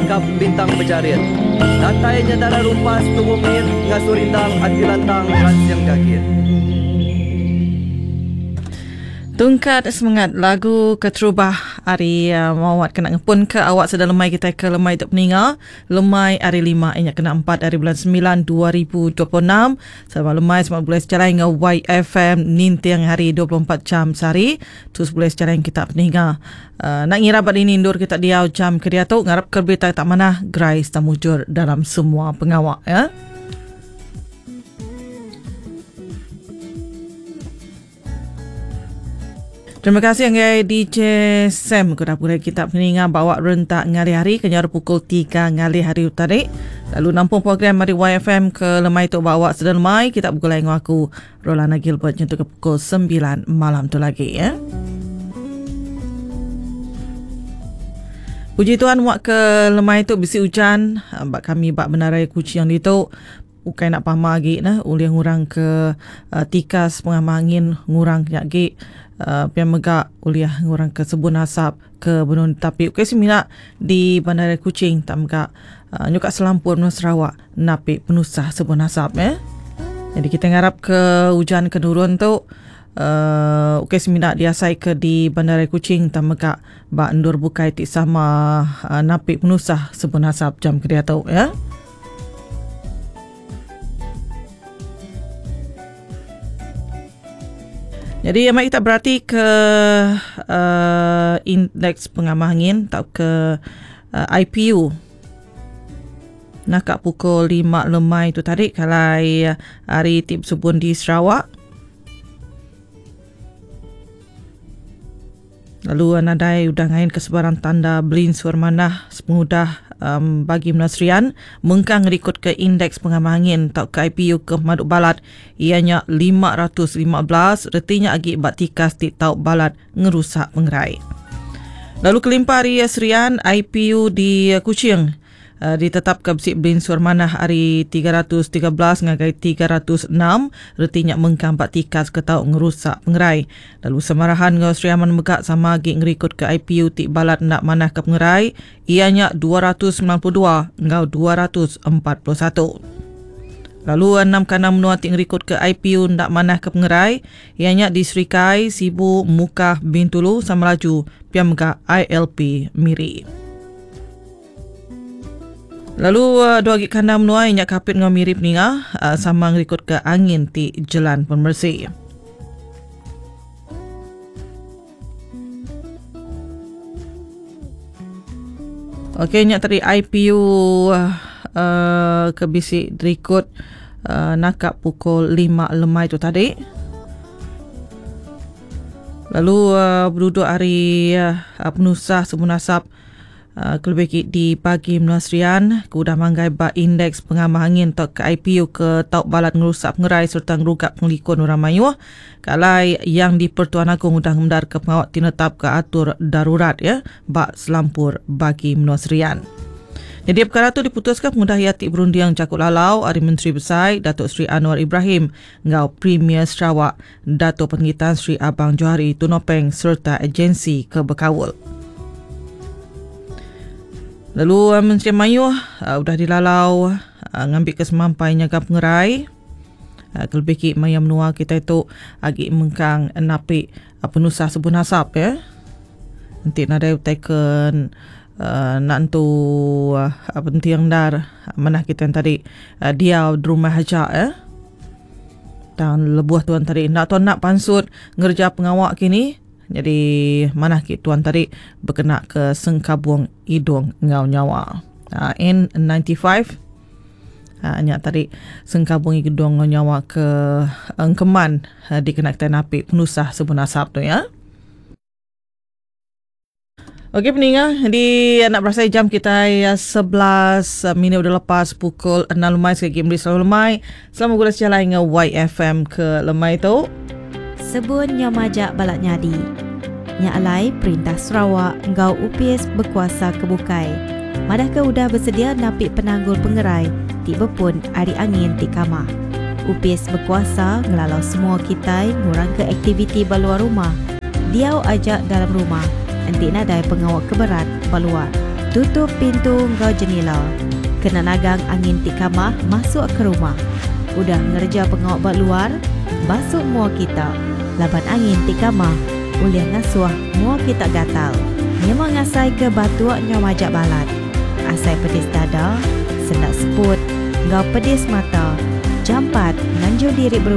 Rangkap Bintang Bejarit. Datai nya dara rumpas tubuh mit ngasuh rindang ati lantang ransing gagit. Tungkat semengat lagu keterubah ari Mawat kena ngepun ke awak sedang lemai kitai ke lemai tu peninga lemai ari lima inya kena empat ari bulan semilan 2026 Selamat lemai selamat begulai sejalai enggau YFM ninting hari 24 jam sehari terus begulai sejalai enggau kita peninga uh, nak ngira ba dini endur kita diau jam ke diatu ngarap ke berita tak manah gerai serta mujur dalam semua pengawa ya. Terima kasih ngagai DJ Sam ke udah pulai kita peninga bawa rentak ngalih hari ke nyaru pukul 3 ngalih hari tadi. Lalu nampung program dari YFM ke lemai tu bawa sedang lemai kita begulai enggau aku Rolana Gilbert nyentuk ke pukul 9 malam tu lagi ya. Puji Tuhan wak ke lemai tu bisi ujan ba kami ba Menara Kuching ditu. Ukai enda pama agi neh ulih ngurang ke tikas pengamah angin ngurang ke nya agi pia mega ulih ngurang ke sebun asap ke benung ditapi ukai semina di bandaraya Kuching tang mega nyuka selampur menua Sarawak napi penusah sebun asap eh. Jadi kitai ngarap ke ujan ke nurun tu uhh ukai semina diasai ke di bandaraya Kuching tang mega ba endur bukai ti sama napi penusah sebun asap jam ke diatu ya. Jadi amat kita berati ke uh, indeks pengamah angin atau ke uh, IPU. Nak pukul 5 lemai tu tadi kalai hari ti bersubun di Sarawak. Lalu nadai udah ngainka sebarang tanda belinsur manah sepengudah um, bagi menua Serian mengkang ngerikutka indeks pengamah angin tauka IPU ke pemadu balat iya nya 515 reti nya agi ba tikas ti tau balat ngerusak pengerai. Lalu kelimpah ari Serian, IPU di Kuching Ditetapka bisi belinsur manah ari 313 ngagai 306, reti nya mengkang ba tikas ke tau ngerusak pengerai. Lalu Samarahan enggau Sri Aman mega sama agi ngerikutka IPU ti balat enda manahka pengerai iya nya 292 enggau 241. Lalu enam kandang menua ti ngerikutka IPU enda manahka pengerai iya nya di Serikai, Sibu, Mukah, Bintulu, Samalaju pia mega ILP Miri. Lalu dua agi kandang menua iya nya Kapit enggau Miri peninga sama ngerikutka angin ti jelan pemeresi. Okey nya tadi IPU uh, ke bisi dirikut uh, naka pukul 5 lemai tu tadi. Lalu uh, berduduk hari uh, penusah sebun asap Kelebih agi di bagi menua Serian ke udah manggai ba Indeks Pengamah Angin tauka IPU ke tau balat ngerusak pengerai sereta ngeruga pengelikun orang mayuh ke alai Yang di-Pertuan Agong udah ngemendarka pengawa ti netapka atur darurat iya ba selampur bagi menua Serian. Nyadi pekara tu diputuska pengudah iya ti berunding jaku lalau ari Menteri Besai Datuk Seri Anwar Ibrahim enggau Premier Sarawak Dato Penggi Tan Sri Abang Johari Tun Openg sereta agensi ke bekaul. Lalu eh, Menteri Mayuh eh, udah dilalau eh, ngambika semampai nyaga pengerai kelebih ki maya menua kita itu agi mengkang napi penusah sebun asap ya. Enti nadai utai ke uh, nak entu uh, penting endar manah kita yang tadi uh, diau di rumah aja ya. Tang lebuh tuan tadi enda tuan nak pansut ngereja pengawa kini. Jadi manah ki tuan tadi bekena ke sengkabung idung enggau nyawa. Uh, N95 uh, nya tadi sengkabung idung enggau nyawa ke engkeman uh, dikena kitai napi penusah sebun asap tu ya. Okey peninga di anak berasai jam kita 11 minit udah lepas pukul 6 lemai sekali lagi beri selalu lemai. Selamat gula sejalai dengan YFM ke lemai tu. Sebun nyau majak balat nyadi. Nya alai perintah Sarawak enggau opis bekuasa ke bukai madahka udah besedia napi penanggul pengerai ti bepun ari angin ti kamah. Opis bekuasa ngelalau semua kitai ngurangka aktiviti ba luar rumah. Diau aja dalam rumah enti nadai pengawa ke berat ba luar. Tutup pintu enggau jenila kena nagang angin ti kamah masuk ke rumah. Udah ngereja pengawa ba luar, basu mua kita laban angin ti kamah ulih ngasuh mua kita gatal. Nyema ngasaika batuk nyau majak balat, asai pedis dada, sendak seput enggau pedis mata, jampat nganjung diri berubat.